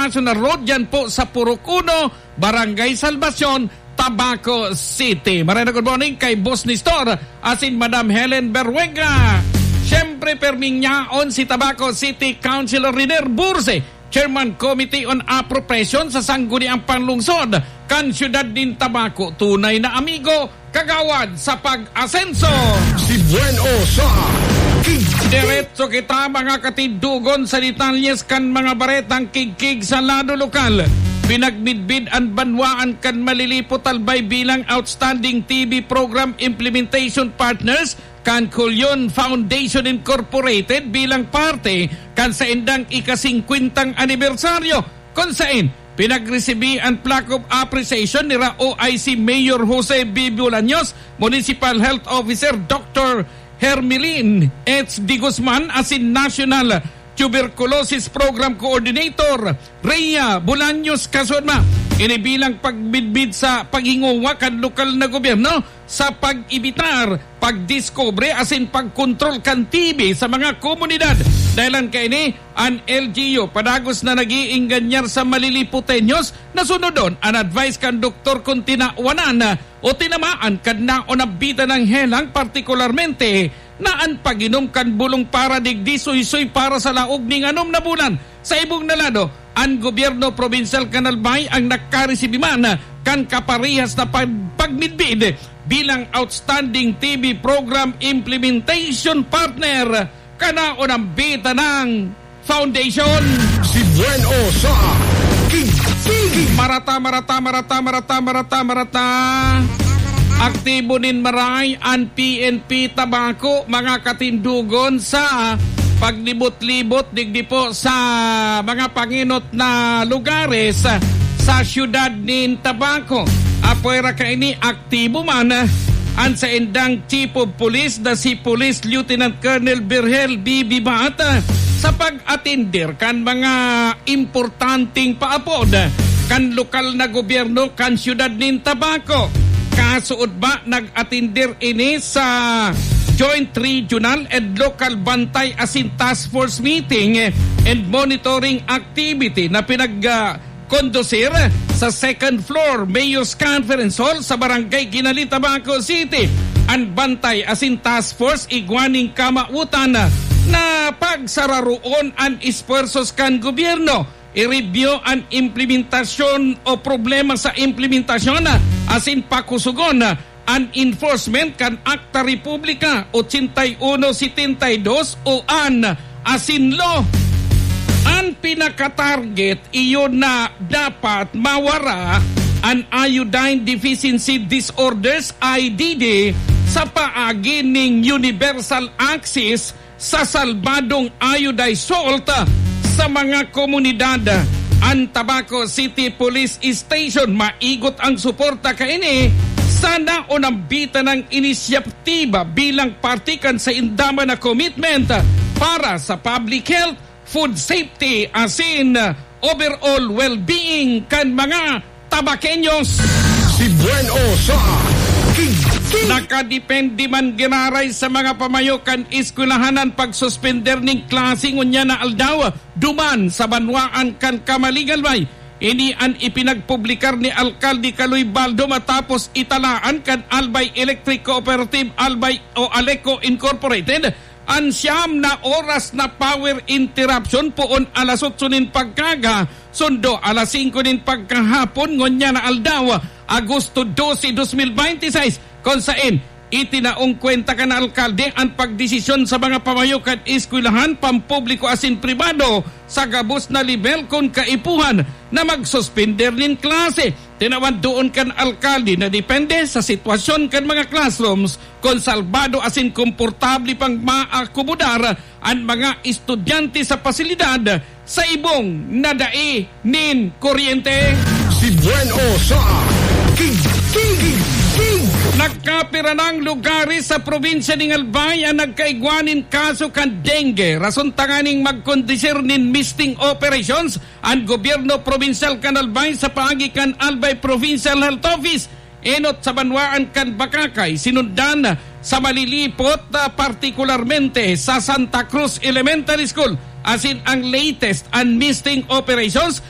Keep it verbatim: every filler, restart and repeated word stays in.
National Road, yan po sa Purok Uno, Barangay Salvacion, Tabaco City. Maray na good morning kay Boss Nestor asin Madam Helen Berruega. Siyempre, perming yaon si Tabaco City Councilor Riner Burse, Chairman Committee on Appropriation sa Sangguniang Panlungsod kan Siyudad nin Tabaco. Tunay na amigo, kagawad sa pag-asenso. Si Buen O sa Kigtig. Diretso kita, mga katindogon, sa detalyes kan mga baretang kigkig sa lado lokal. Pinagmidbid an banwaan kan Malilipot Albay bilang Outstanding T V Program Implementation Partners kan Culion Foundation Incorporated bilang parte kan saindang ika-singkwentang anibersaryo, kun saen pinagresibi an plaque of appreciation nira O I C Mayor Jose B. Bolaños, Municipal Health Officer Doctor Hermelin H. de Guzman, asin National Tuberculosis Program Coordinator Rhea Bolaños Casudma. Ini bilang pagmidbid sa paghingowa kan lokal na gobyerno sa pag-ebitar, pagdiskubre asin pagkontrol kan T B sa mga komunidad. Dahelan kaini, an L G U padagos na nag-iinganyar sa Malilipoteños na sunodon an advice kan doktor kun tinawanan o tinamaan kan naonambitan na helang, partikularmente na an pag-inom kan bulong para digdi suysoy para sa laog nin anom na bulan. Sa ibong na lado, an gobyerno probinsyal kan Albay ang nakaresibi man kan kaparehas na pag-, pagmidbid bilang Outstanding T V Program Implementation Partner kan naonambitan na Foundation. Si Buen O sa Kigkig. Marata, marata, marata, marata, marata, marata. Aktibo nin maray an P N P Tabaco, mga katindogon, sa paglibot-libot digdi po sa mga pangenot na lugares sa siyudad nin Tabaco. Apwera kaini, aktibo man an saindang Chief of Police na si Police Lieutenant Colonel Virgil B. Bibat sa pag-atender kan mga importanteng paapod kan lokal na gobyerno kan siyudad nin Tabaco. Kasuodma, nag-atender ini sa Joint Regional and Local Bantay asin Task Force meeting and monitoring activity na pinag, ah, kondusir sa second floor Mayor's Conference Hall sa Barangay Guinali, Tabaco City. An bantay asin task force igwa nin kamawotan na pagsararoon an esfuerzos kan gobyerno, i-review an implementasyon o problema sa implementasyon asin pakusugon an enforcement kan Akta Republika ochenta y uno setenta y dos o an Asin Law. An pinakatarget iyo na dapat mawara an iodine deficiency disorders, I D D, sa paagi nin universal access sa salbadong iodized salt sa mga komunidad. An Tabaco City Police Station maigot ang suporta kaini sa naonambitan na inisyatiba bilang parte kan sainda man na commitment para sa public health, food safety, asin overall well-being kan mga Tabaqueños. Si Buen O sa Kigkig. Nakadepende man giraray sa mga pamayo kan eskwelahan an pagsuspender nin klase ngunyan na aldaw duman sa banwaan kan Camalig, Albay. Ini an ipinagpublikar ni Alkalde Kaloy Baldo matapos italaan kan Albay Electric Cooperative Albay o Aleco Incorporated an siyam na oras na power interruption poon alas otso nin pagkaaga, sundo alas singko nin pagkahapon ngunyan na aldaw, Agosto doce, dos mil bente y seis, kun saen itinaong kwenta kan alkalde an pagdesisyon sa mga pamayo kan eskwelahan, pampubliko asin pribado sa gabos na lebel kun kaipuhan na magsuspender nin klase. Tinawan duon kan alkalde na depende sa sitwasyon kan mga classrooms kun salbado asin komportable pang maakomodar an mga estudyante sa pasilidad sa ibong na dai nin kuryente. Si Buen O sa Kigkig. Nagkapira nang lugares sa probinsya nin Albay an nagkaigwa nin kaso kan dengue. Rason tanganing magkondusir nin misting operations an gobyerno probinsyal kan Albay sa paagi kan Albay Provincial Health Office. Enot sa banwaan kan Bacacay, sinundan sa Malilipot, ah, partikularmente sa Santa Cruz Elementary School, asin ang latest an misting operations